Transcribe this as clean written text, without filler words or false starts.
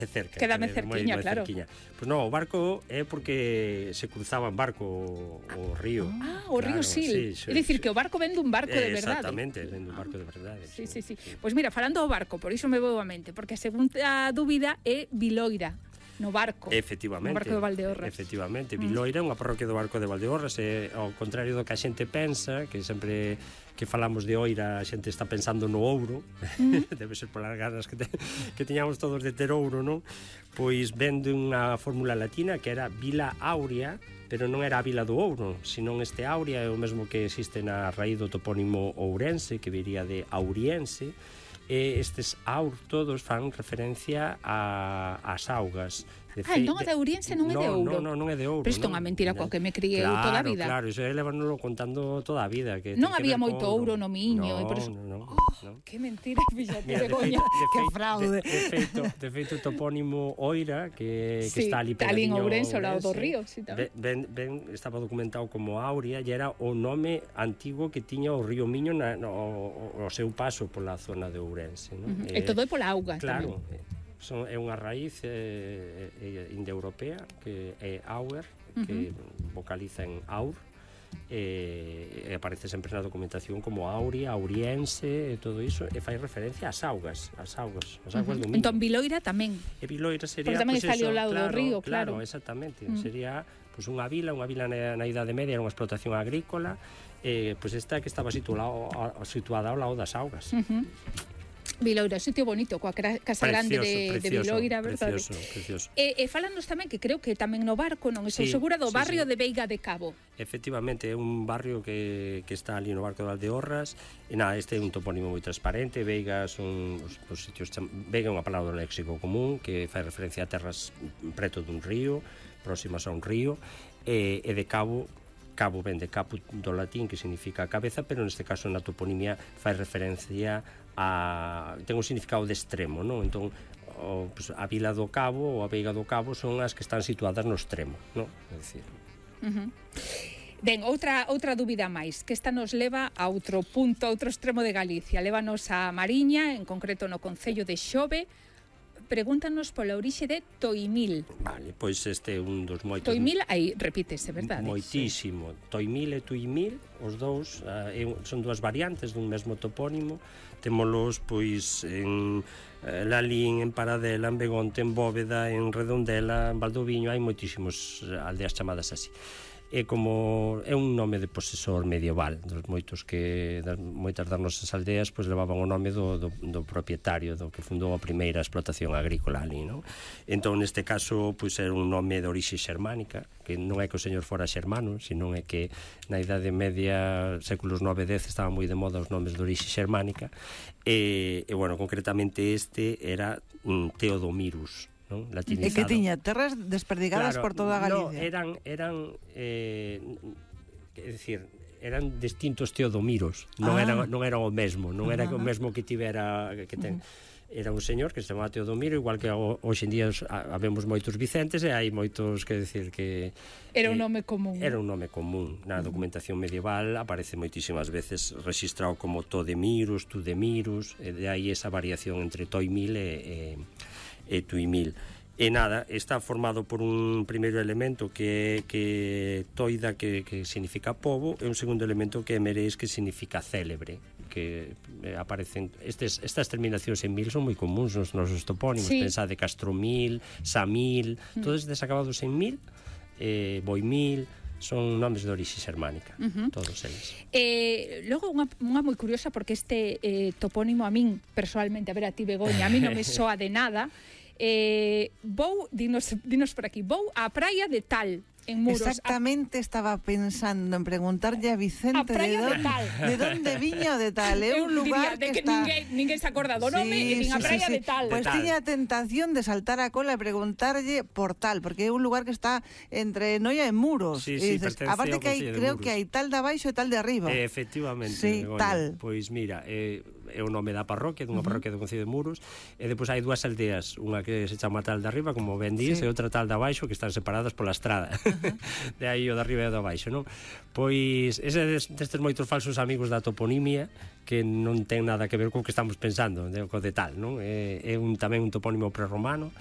cerca. Quédame cerquiña, moi claro. Pois non, o barco é porque se cruzaba en barco o río. O río Sil. É dicir, que o barco ven dun barco de verdade. Exactamente, ven dun barco de verdade. Sí. Pois mira, falando do barco, por iso me vou a mente, porque a segunda dúbida é Viloira. No barco. Efectivamente. No barco de Valdeorras. Efectivamente. Viloira é unha parroquia do barco de Valdeorras, e ao contrario do que a xente pensa, que sempre que falamos de Oira a xente está pensando no ouro, debe ser polas ganas que tiñamos todos de ter ouro, non? Pois ven dunha fórmula latina que era Vila Aurea, pero non era a Vila do Ouro, senón este Aurea é o mesmo que existe na raíz do topónimo ourense, que viría de auriense, e estes aur todos fan referencia ás augas. Entón a de Ouriense non é de ouro. Non é de ouro. Pero isto é unha mentira coa que me criei toda a vida. Claro, iso levánoslo contando toda a vida. Non había moito ouro no Miño. Non. Que mentira, fíxate, Begoña. Que fraude. De feito, o topónimo Oira, que está ali en pegadiño Ourense, ao lado do río. Estaba documentado como Aurea, e era o nome antigo que tiña o río Miño o seu paso pola zona de Ourense. E todo é pola auga. Claro, é unha raíz indoeuropea que é auer, que vocaliza en aur, e aparece sempre na documentación como Aurea, Auriense e todo iso, e fai referencia ás augas do Miño. Entón Viloira tamén. E Viloira sería, porque tamén está ali ao lado do río, claro. Exactamente, sería unha vila na Idade Media, era unha explotación agrícola, pois esta que estaba situada ao lado das augas. Viloira, sitio bonito, coa casa grande de Viloira, verdade? Precioso. E falanos tamén que creo que tamén no barco, non estou segura, do barrio de Veiga de Cabo. Efectivamente, é un barrio que está ali no barco de Valdeorras, e este é un topónimo moi transparente. Veiga son os sitios... Veiga é unha palabra do léxico común que fai referencia a terras preto dun río, próximas a un río, e de Cabo ven de caput do latín, que significa cabeza, pero neste caso na toponimia fai referencia ten un significado de extremo, non? Entón, a Vila do Cabo ou a Veiga do Cabo son as que están situadas no extremo, non? É dicir... Ben, outra dúbida máis, que esta nos leva a outro punto, a outro extremo de Galicia. Lévanos a Mariña, en concreto no concello de Xove. Pregúntanos pola orixe de Toimil. Vale, pois este é un dos moitos... Toimil, aí repítese, verdade? Moitísimo. Sí. Toimil e Tuimil, os dous, son dúas variantes dun mesmo topónimo. Témolos, pois, en Lalín, en Paradela, en Begonte, en Bóveda, en Redondela, en Valdoviño. Hai moitísimos aldeas chamadas así. É como un nome de posesor medieval, dos moitos que moitas das nosas aldeas pois levaban o nome do propietario, do que fundou a primeira explotación agrícola ali, non? Entón neste caso pois era un nome de orixe xermánica, que non é que o señor fora xermano, senón é que na Idade Media, séculos 9 e 10, estaban moi de moda os nomes de orixe xermánica, e bueno, concretamente este era Teodomirus, non? Latinizado. E que tiña terras desperdigadas por toda Galicia. Eran eran distintos Teodomiros, non era o mesmo, non era o mesmo que tivera que ten. Era un señor que se chamaba Teodomiro, igual que hoxe en día habemos moitos Vicentes, e hai moitos, que decir que era un nome común. Era un nome común. Na documentación medieval aparece moitísimas veces registrado como Todemirus, Tudemirus, e de aí esa variación entre Toimil e Tuimil. E nada, está formado por un primeiro elemento que toida, que significa pobo, e un segundo elemento que é mereis, que significa célebre, que aparecen estas terminacións en mil son moi comuns nos nosos topónimos. Pensade Castromil, Samil, todos estes acabados en mil, Boimil, son nomes de orixe xermánica, todos eles. Logo, unha moi curiosa, porque este topónimo a min, personalmente, a ver, a ti, Begoña, a mí non me soa de nada. Dinos por aquí, vou á praia de tal, en Muros. Exactamente, estaba pensando en preguntarlle a Vicente de donde viña o de tal. É un lugar que está... Ninguén se acorda do nome, e din a praia de tal. Pois tiña a tentación de saltar a cola e preguntarlle por tal, porque é un lugar que está entre Noia e Muros. Aparte que creo que hai tal de abaixo e tal de arriba. Efectivamente. Sí, tal. Pois mira, é o nome da parroquia, dunha parroquia do concello de Muros, e depois hai dúas aldeas, unha que se chama tal de arriba, como ben dís, e outra tal de abaixo, que están separadas pola estrada. De aí o de arriba e o de abaixo, non? Pois ese destes moitos falsos amigos da toponimia, que non ten nada que ver co que estamos pensando, co de tal, non? É tamén un topónimo prerromano,